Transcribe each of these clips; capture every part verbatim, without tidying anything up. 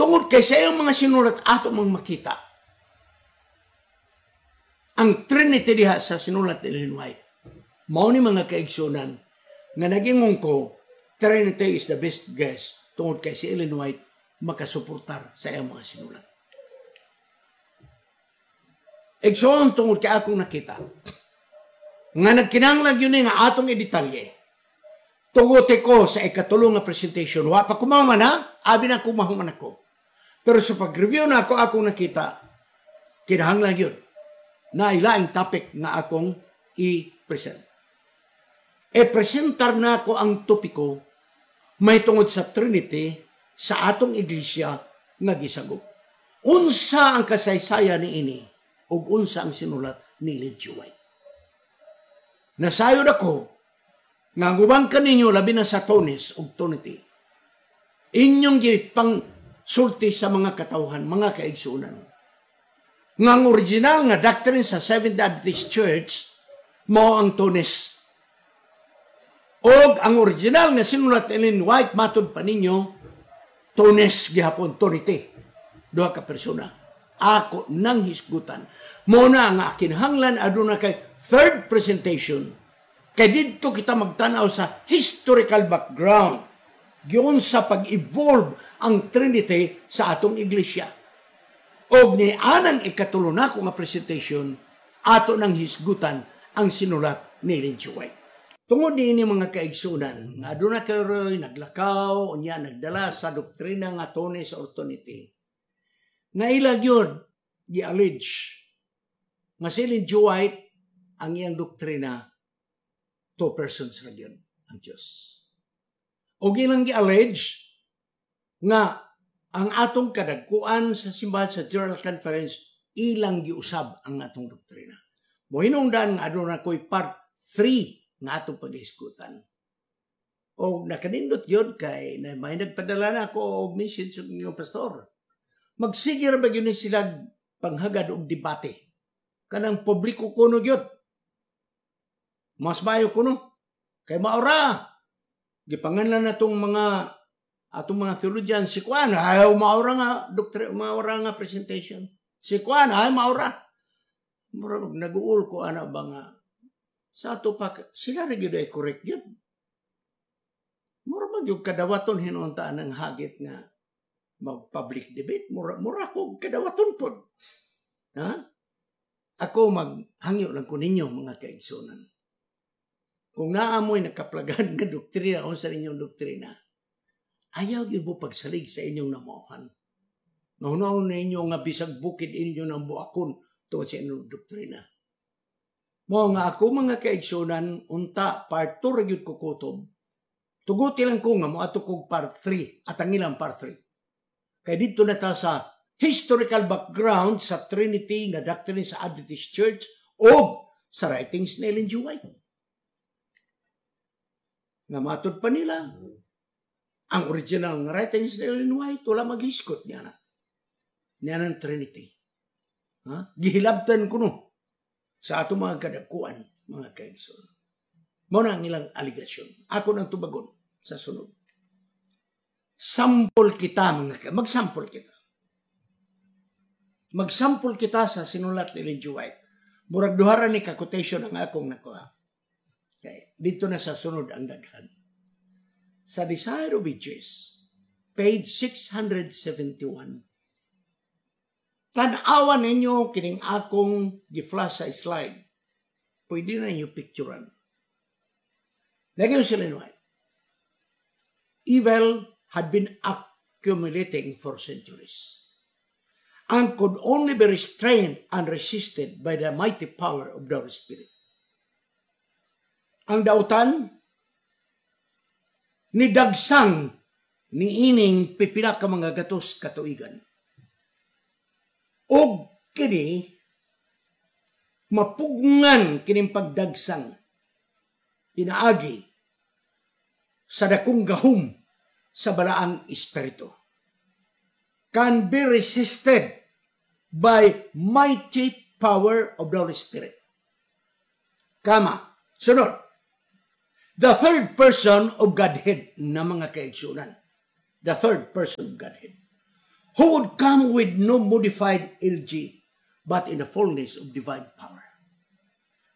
Tungod kay sa iyang mga sinulat ato mang makita ang Trinity diha sa sinulat ni Ellen White. Mao ni mga kaigsunan nga nagingon ko Trinity is the best guess tungod kay si Ellen White makasuportar sa iyang mga sinulat. Igsoon tungod kay akong nakita nga nagkinahanglan gyud ni nga atong i-detalye. Tuguti ko sa ikatulo nga presentation. Wa pa kumahuman ha, abi na kumahuman ako. Pero sa pag-review na ako akong nakita, kinahanglan gyud na ilaing topic nga akong i-present. E-presentar na ako ang topiko may tungod sa Trinity sa atong iglesia nga gisagop. Unsa ang kasaysayan ni ini ug unsa ang sinulat ni Ellen G. White. Nasayod ako nga ang uban kaninyo labi na sa Twoness ug Twonity. Inyong gipang sulti sa mga katawhan, mga kaigsunan. Nga ang original nga doctrine sa Seventh Adventist Church mao ang Twoness. Og ang original nga sinulat ni Ellen White matud pa ninyo Twoness gihapon Twonity. Duha ka persona. Ako nang hisgutan. Mo na nga kinahanglan aduna kay third presentation. Kay didto kita magtanaw sa historical background giun sa pag-evolve ang Trinity sa atong iglesia. Og ni anang ikatulo nako nga presentation ato nang hisgutan ang sinulat ni Ellen G. White. Tungod niini mga kaigsunan, nga aduna kayo'y naglakaw, unya nagdala sa doktrina nga Twoness or Twonity. Nga ila gyud gi-allege nga si Ellen G. White ang iyang doktrina two persons ra gyud ang Dios. O ilang gi-allege nga ang atong kadagkuan sa simbahan sa General Conference ilang giusab ang atong doktrina. Mohinungdan nga aduna ko'y part three nga atong pag-iskutan. O nakanindot yun kay na may nagpadala na ako og message sa inyong pastor. Magsige ra ba gyud ni sila panghagad og debate. Kanang publiko kuno gyud. Mas maayo kuno. Kay maora. Gipanganlan na tong mga atong mga theologian si Kuan ayaw maora nga doktor maora nga presentation. Si Kuan ay maora. Mura nag-uul ko ana ba nga sa ato pa sila ra gyud ay correct gyud. Mura man gyud kadawaton hinuon-taan ang hagit nga mag public debate mura mura ko kadawaton pod. Ha? Ako maghangyo lang ko ninyo mga kaigsunan. Kung naamoy nakaplagan nga doktrina o sa inyong doktrina, ayaw gyud mo pagsalig sa inyong namuhan. Nahunaon ninyo nga bisag bukid inyo ng buakon tungod sa inyong doktrina. Mo nga ako mga kaigsunan, unta part two ra gyud ko kutob. Tuguti lang ko nga moadto kog part three at ang ilang part three. Kay didto na ta sa historical background sa Trinity nga doctrine sa Adventist Church o sa writings ni Ellen G. White. Nga matod pa nila, ang original nga writings ni Ellen White, wala maghiskot niya na. Niya ng Trinity. Ha? Gihilabtan ko no sa ato mga kadagkuan, mga kaigsoon. Mo na ang ilang aligasyon. Ako nang tubagon sa sunod. Sample kita, mga ka- magsample kita. Magsample kita sa sinulat ni Ellen G. White. Murag duha ra ni ka quotation ang akong nakuha. Okay. Dito na sa sunod ang daghan. Sa Desire of Ages, page six hundred seventy-one, tan-awan ninyo kining akong gi-flash sa slide. Pwede na ninyo picturean. Lagi yung sila White. Evil had been accumulating for centuries and could only be restrained and resisted by the mighty power of the Holy Spirit. Ang dautan ni dagsang ni ining pipila ka mga gatos katuigan. Og kini mapugngan kining pagdagsang pinaagi sa dakong gahom sa balaang espiritu. Can be resisted by mighty power of the Holy Spirit. Kama, sunod, the third person of Godhead na mga kaigsunan. The third person of Godhead. Who would come with no modified L G, but in the fullness of divine power.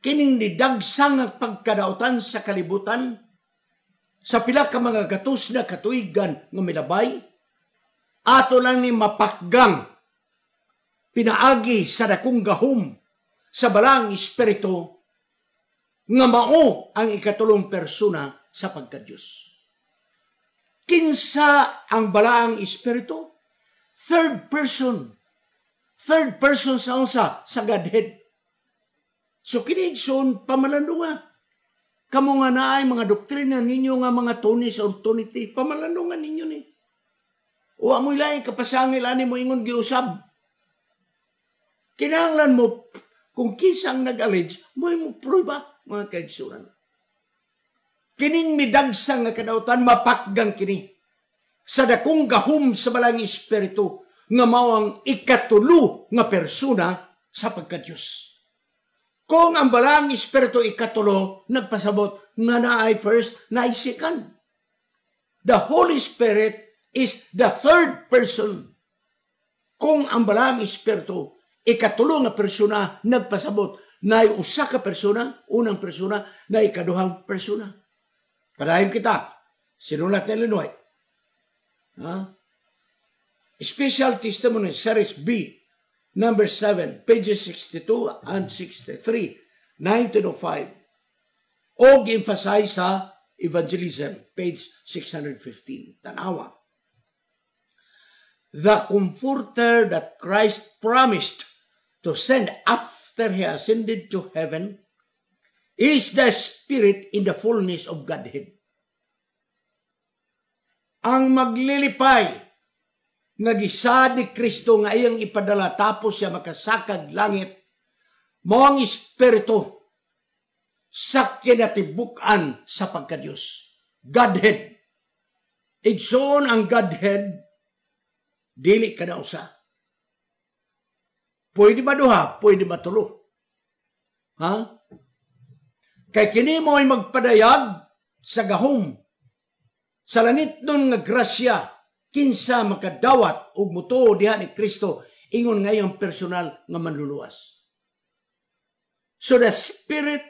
Kining nidagsang ang pagkadautan sa kalibutan, sa pila ka mga gatos na katuigan nga milabay, ato lang ni mapakgang pinaagi sa dakong gahom sa Balaang Espiritu nga mao ang ikatulong persona sa pagka-Diyos. Kinsa ang Balaang Espiritu? Third person. Third person sa unsa? Sa Godhead. So kini, igsoon, pamalandunga. Kamo nga naay mga doktrina ninyo nga mga tones or tonity, pamalandungan ninyo ni. Wa mo laing kapasangil ani mo ingon giusab. Kinahanglan mo kung kinsa ang nag-allege, mo mo prueba, mga kaigsunan. Kining midagsa nga kadautan, mapakgang kini sa dakong gahom sa Balaang Espiritu nga mao ang ikatulo nga persona sa pagka-Diyos. Kung ang Balaang Espiritu ikatulo, nagpasabot nga naay first, naay second. The Holy Spirit is the third person. Kung ang Balaang Espiritu ikatulo nga persona, nagpasabot naay usa ka persona, unang persona, na ikaduhang persona. Padayon kita. Sinulat ni Ellen White. Ha? Special Testimony, Series B, number seven, pages sixty-two and sixty-three, nineteen oh five. Og emphasize sa Evangelism, page six hundred fifteen. Tanawa. The Comforter that Christ promised to send after He ascended to heaven is the Spirit in the fullness of Godhead. Ang maglilipay nga gisaad ni Kristo nga iyang ipadala tapos siya makasakag langit, mao ang Espiritu sa kinatibuk-an sa pagkadiyos. Godhead. Igsoon, ang Godhead, dili ka na usa. Pwede ba duha? Pwede ba tulo? Ha? Kay kini mo ay magpadayag sa gahom sa langit nun nga grasya kinsa makadawat og mutuo diha ni Kristo ingon nga iyang personal nga manluluwas. So the Spirit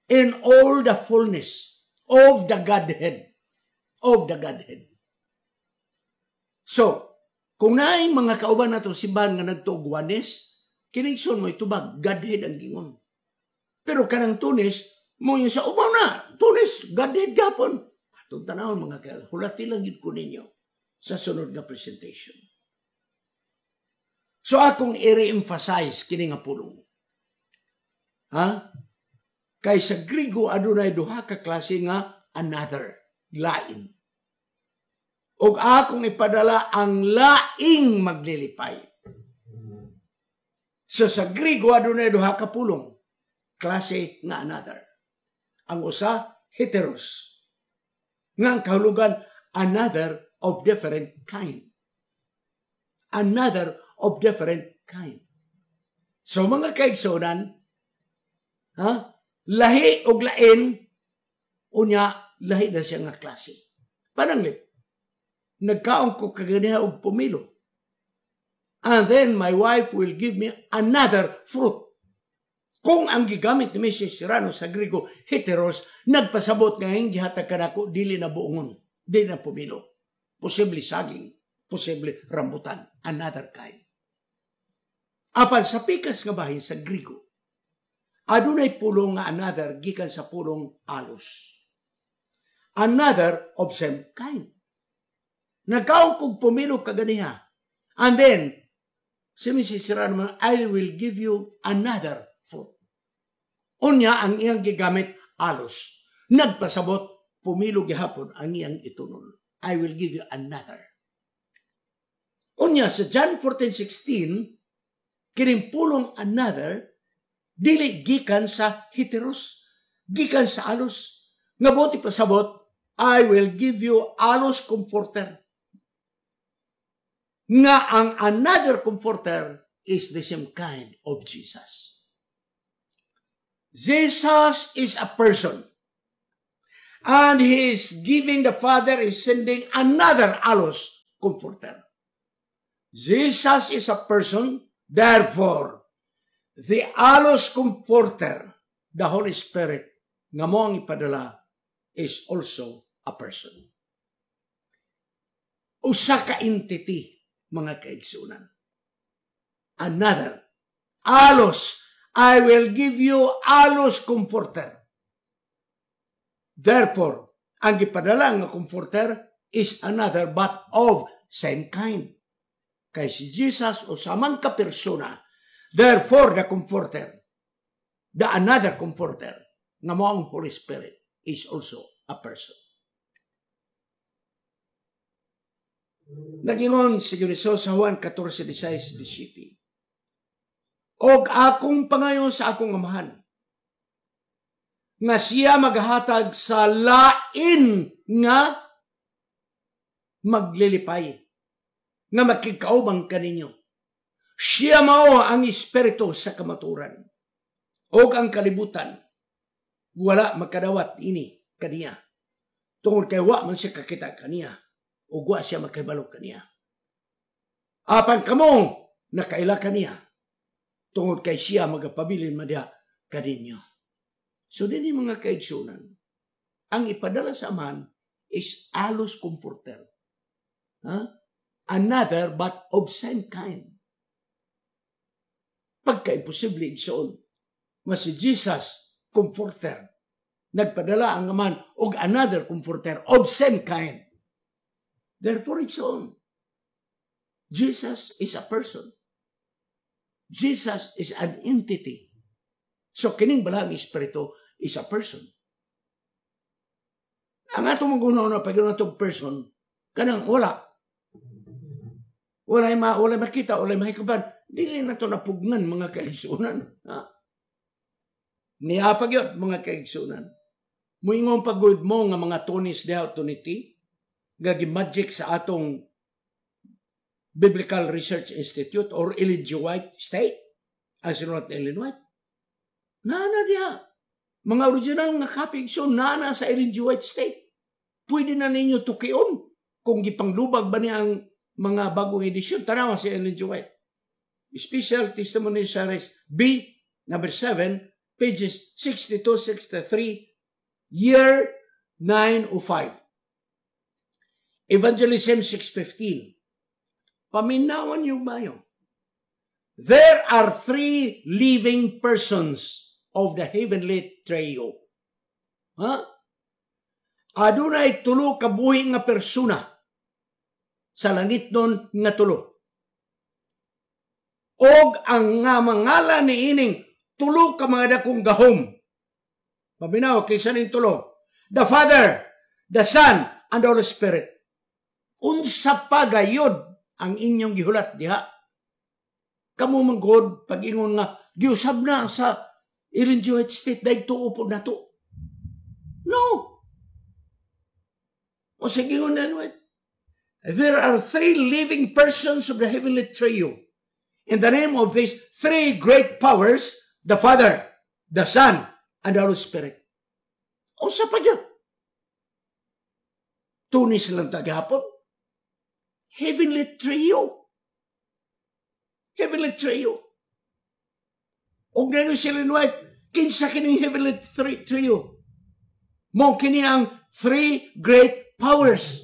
in all the fullness of the Godhead. Of the Godhead. So, kung naay mga kauban nato simbahan nga nagtuog Oneness, kini, igsoon, mo itubag, Godhead ang gingon. Pero kanang Twoness, mo yung sa umaw na, Twoness, Godhead gapon. Atong tanawon, mga ka, hulati lang yun ko ninyo sa sunod nga presentation. So akong i-re-emphasize kini nga pulong. Ha? Kay sa Grigo adunay duha ka klase nga another, lain. Og akong ipadala ang laing maglilipay. So sa Grigo adunay duha ka pulong, klase nga another. Ang usa, heteros. Nga ang kahulugan, another of different kind. Another of different kind. So mga kaigsunan, ha? Lahi og lain, unya lahi na siya nga klase. Pananglit, nagkaon ko kaganiha og pomelo. And then my wife will give me another fruit. Kung ang gigamit ni Missus Serrano sa Grigo, heteros, nagpasabot nga ang gihatag kanako dili na buongon, dili na pomelo. Posible saging, posible rambutan, another kind. Apan sa pikas nga bahin sa Grigo, adunay pulong nga another gikan sa pulong allos. Another of same kind. Nagkaon kog pomelo kaganiha. And then, si Missus Serrano, "I will give you another fruit." Unya, ang iyang gigamit, allos. Nagpasabot, pomelo gihapon ang iyang itunol. "I will give you another." Unya, sa John fourteen sixteen, kining pulong another, dili gikan sa heteros, gikan sa allos. Nga buot ipasabot, "I will give you allos comforter." Nga ang another comforter is the same kind of Jesus. Jesus is a person. And He is giving, the Father is sending another allos comforter. Jesus is a person, therefore, the allos comforter, the Holy Spirit, nga mao ang ipadala, is also a person. Usa ka entity, mga kaigsunan. Another. Allos, I will give you allos comforter. Therefore, ang gipadala nga comforter is another but of same kind. Kay si Jesus usa man ka persona. Therefore, the comforter, the another comforter, nga mao ang Holy Spirit, is also a person. Nagingon si Jesus sa Juan fourteen, sixteen, seventeen. Og akong pangayon sa akong amahan, nga siya maghatag sa lain nga maglilipay, nga makikaubang kaninyo. Siya mao ang espiritu sa kamaturan, og ang kalibutan, wala makadawat ini kaniya. Tungod kay wa man siya kakita kaniya, ug wa siya makahibalo kaniya. Apan kamo nakaila kaniya, tungod kay siya magapabilin man diha kaninyo. So dinhi mga kaigsunan, ang ipadala sa Amahan is allos comforter. Huh? Another but of same kind. Pagka-imposible igsoon, mas si Jesus, comforter, nagpadala ang Amahan og another comforter of same kind. Therefore, igsoon, Jesus is a person. Jesus is an entity. So, kining balang espiritu is a person. Ang atong mga na pag itong person, kanang wala. Walay ma, walay makita, walay mahikaban. Dili na to napugnan mga kaigsunan. Ha? Niapag yun, mga kaigsunan. Muingon pagod mo nga mga tonis diha toniti, gagi magic sa atong Biblical Research Institute or Ellen G. White State, ang sinulat ni Ellen White. Nana diha. Mga original nga copy, so nana sa Ellen G. White State. Pwede na ninyo tukion kung gipanglubag ba niya ang mga bagong edisyon. Tanawa si Ellen G. White. Special Testimony Series B, number seven, pages sixty-two, sixty-three, year nine oh five. Evangelism six fifteen. Paminawan yung mayo. There are three living persons of the heavenly trio. Ha? Adunay tulo ka buhi nga persona sa langit nun nga tulo. Og ang nga mangalan ni ining tulo ka mga dakong gahom. Paminaw, kaysa ning tulo. The Father, the Son, and the Holy Spirit. Unsa pa gayod ang inyong gihulat diha? Kamu man God, pag-ingon nga, giusab na sa Ellen G. White State, dahil tuo po na to. No! O sige na, there are three living persons of the heavenly trio. In the name of these three great powers, the Father, the Son, and the Holy Spirit. O sa pa dyan? Tunis lang tagahapon. Heavenly trio. Heavenly trio. O gano'n si Ellen White, kinsa kining heavenly trio? Mo kini ang three great powers.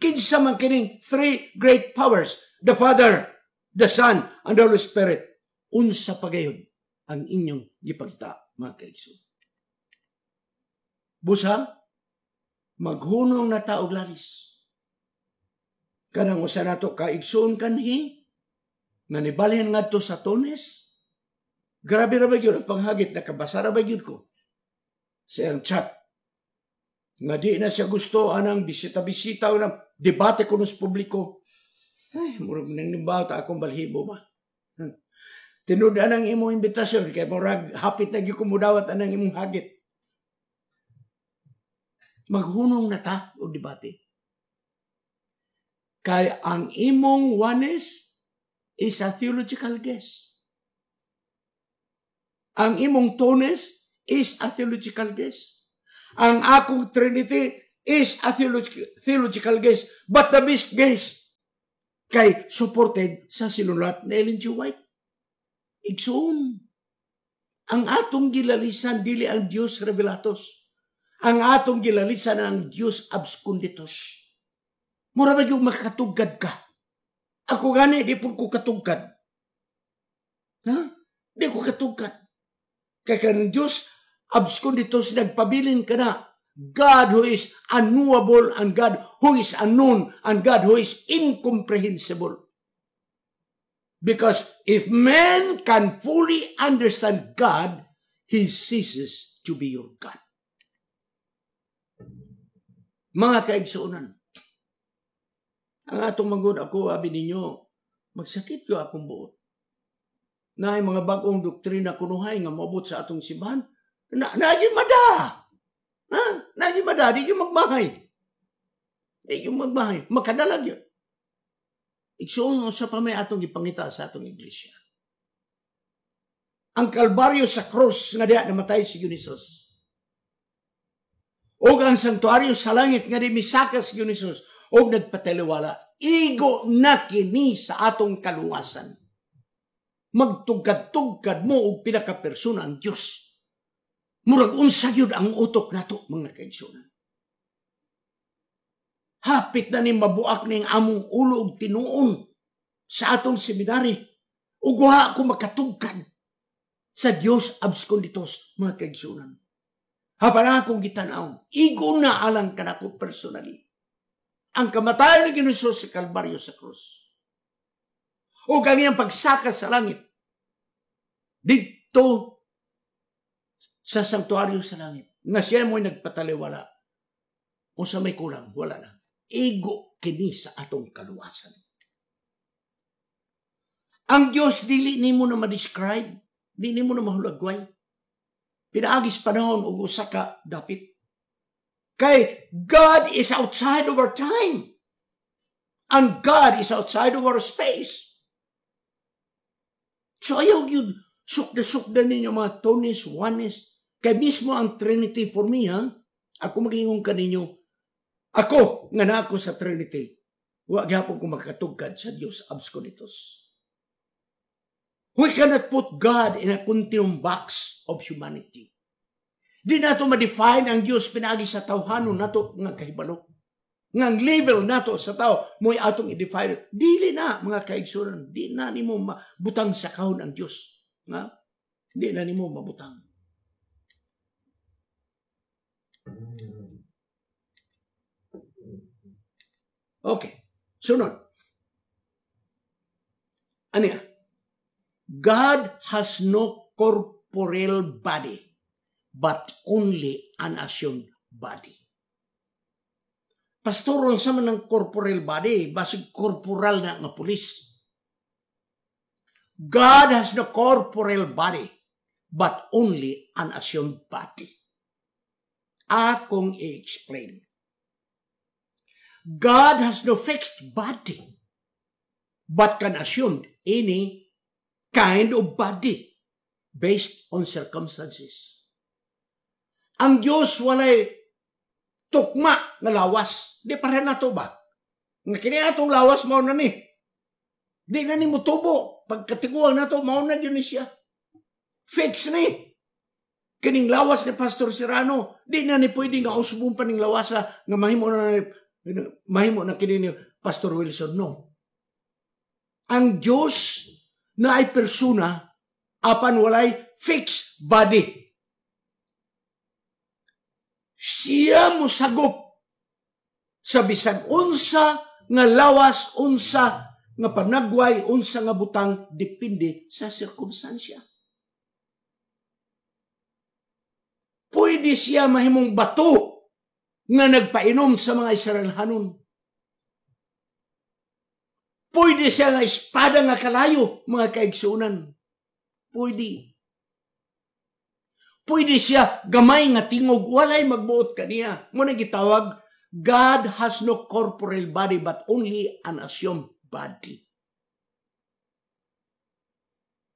Kinsa man kining three great powers? The Father, the Son, and the Holy Spirit. Unsa pagayon ang inyong gipagta, mga kaigsoon. Busa, maghunong na taog lalis. Kanang usa nato kaigsoon kanhi, nga nibalhin ngadto sa Tones. Grabe ra ba gyud ang panghagit, nakabasa ra ba gyud ko sa iyang chat. Nga di na siya gusto anang bisita-bisita o nang debate ko sa publiko. Ay, murag nang nimbaw ta akong balhibo ba. Tinud anang imong imbitasyon kay murag hapit na gyud ko mudawat anang imong hagit. Maghunong na ta og debate. Kay ang imong oneness is a theological guess. Ang imong twoness is a theological guess. Ang akong Trinity is a theological, theological guess. But the best guess Kay supported sa sinulat ni Ellen G. White. Igsoon, ang atong gilalisan dili ang Dios revelatus. Ang atong gilalisan ang Dios absconditus. Mura ba yung makatugkad ka? Ako gani, di po ko katugkad. Ha? Di ko katugkad. Kay kanang Diyos, absconditus, nagpabilin ka na. God who is unknowable and God who is unknown and God who is incomprehensible. Because if man can fully understand God, he ceases to be your God. Mga kaigsuonan, ang atong manggod ako, abi ninyo, magsakit ko akong buot. Na mga bagong doktrina kunuhay nga moabot sa atong simbahan, na naagi mada. Ha? Naagi mada, di yung magmahay. Di yung magmahay. Makadalag yun. Igsuon sa pa may atong ipangita sa atong iglesia. Ang Kalbaryo sa cross nga diha namatay si Hesus. Og ang santuario sa langit nga di misaka si Hesus og nagpataliwala. Igo na kini sa atong kaluwasan. Magtugkad-tugkad mo og pila ka persona ang Dios. Murag unsa gyud ang utok nato mga kaigsuonan. Hapit na ni mabuak ning among ulo og tinuon sa atong seminary. Ug wa ko makatugkad sa Dios absconditus mga kaigsuonan. Hapan akong gitan-aw, igo na alang kanako personally. Ang kamatayon ni Ginoo sa Kalbaryo sa krus. O ang iyang pagsaka sa langit. Dito sa sanktuaryo sa langit. Nga siya mo'y nagpataliwala. O sa may kulang, wala na. Igo kini sa atong kaluwasan. Ang Diyos dili nimo na ma-describe, dili nimo na mahulagway. Pinaagis panahon ug usa ka dapit. Kay God is outside of our time. And God is outside of our space. So ayaw yun, sukda-sukda ninyo mga twoness, oneness. Kay mismo ang Trinity for me, ha? Ako magingon kaninyo, ako, nga na ako sa Trinity, wa gyapon ko makatugkad sa Dios absconditus. We cannot put God in a continuum box of humanity. Di nato ma-define ang Dios pinaagi sa tawhanon nato nga kahibalo. Nga ang level nato sa tao mo'y atong i-define. Dili na mga kaigsuonan, di na nimo mabutang sa kahon ang Dios. Nga? Di na nimo mabutang. Okay. Sunod. Ano yan? God has no corporeal body, but only an assumed body. Pastor, sa man ng corporeal body, basig corporal na nga pulis. God has no corporeal body, but only an assumed body. Akong i-explain. God has no fixed body, but can assume any kind of body based on circumstances. Ang Diyos walay tukma nga lawas. Di pareha nato ba? Nga kini atong lawas mao na ni. Di na ni motubo. Pagkatiguang nato mao na gyud ni siya. Fix ni. Kining lawas ni Pastor Serrano, di na ni pwede nga usbon pa ning lawasa nga mahimo na ni, mahimo na kini ni Pastor Wilson. No. Ang Diyos na ay persona apan walay fixed body. Siya mosagop sa bisag unsa nga lawas, unsa nga panagway, unsa nga butang, depende sa sirkumstansya. Pwede siya mahimong bato nga nagpainom sa mga Israelhanon. Pwede siya nga espada nga kalayo, mga kaigsunan. Pwede. Pwede siya gamay nga tingog, walay magbuot kaniya. Muna gitawag, God has no corporeal body but only an assumed body.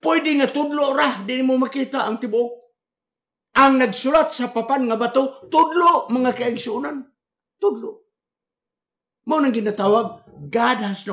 Pwede nga tudlo ra, di mo makita ang tibuok. Ang nagsulat sa papan nga bato, tudlo mga kaigsunan. Tudlo. Mao nang ginatawag, God has no